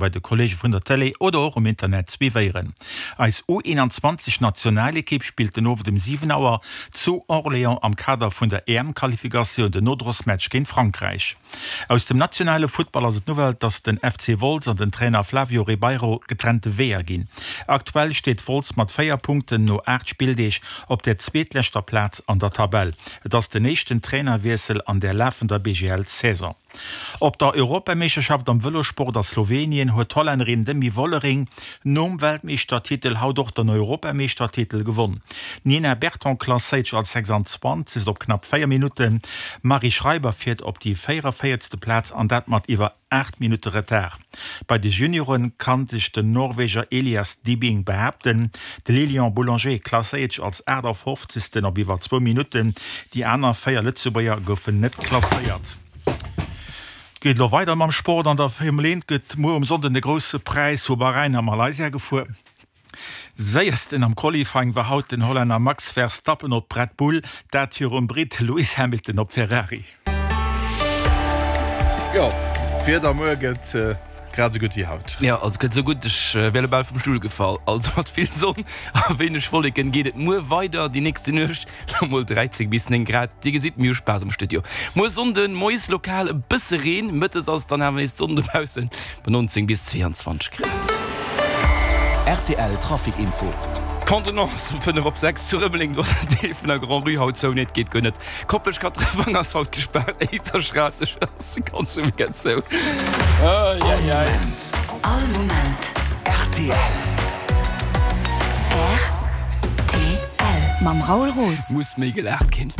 Bei de Kollege vun der Télé oder och um Internet suivéieren. Eis U21 Nationalekipp spillt den Owend um 7 Auer zu Orléans am Kader vun der EM-Qualifikatioun den Nodrosmatch géint Frankräich. Aus dem nationale Futtball ass et d'Nouvelle, dass den FC Wolz an den Trainer Flavio Ribeiro getrennte Weeër ginn. Aktuell steet Wolz mat 4 Punkten no 8 Spilldeeg op der zweetleschter Plaz an der Tabell. Et ass den éischten Trainerwiessel an der lafender BGL-Saison. Op der Europameeschterschaft am Vëlossport a Slowenien huet d'Hollännerin Demi Vollering nom Weltmeeschtertitel haut och den Europameeschtertitel gewonn. D'Nina Berton klasséiert sech als 26. op knapp 4 Minutten. D'Marie Schreiber fiert op déi 44. Plaz an dat mat iwwer 8 Minutte Retard. Bei de Juniore kann sech den Norweger Elias Dibing behaapten. De Lilian Boulanger klasséiert sech als 58. op iwwer zwou Minutten. Déi aner 4 Lëtzebuerger goufen net klasséiert. Et geet elo weider mam Sport. An der Formel 1 gëtt muer um Sonnden de Grousse Präis vu Bahrain a Malaysia gefuer. Séiersten am Qualifying war haut den Hollänner Max Verstappen op Red Bull, dat virum Britt Lewis Hamilton op Ferrari. Jo, d'Wieder muer gëtt grad esou gutt wéi haut. Jo, also gëtt esou gutt, ech wär elo bal vum Stull gefall. Also mat vill Sonn a wéineg Wolleken geet et muer weider. Déi nächste Nuecht lo mol 13 bis 9 Grad. Dir gesitt, mir hu Spaass am Studio. Muer Sonnden moies lokal e bësse Reen, mëttes ass et dann awer nees d'Sonn dobaussen bei 19 bis 22 Grad. Rtl Trafic Info. D'Contenance um 5 op 6 zu Rëmeleng, do ass en Deel vun der Grand-Rue haut zou. Nee, et geet guer net. Koplescht Katrewang ass haut gespaart, Éizerstraass ass de ganze Weekend zou. All Moment. All Moment. Rtl. Rtl. Mam Raoul Roos. Muss méi gelaacht ginn.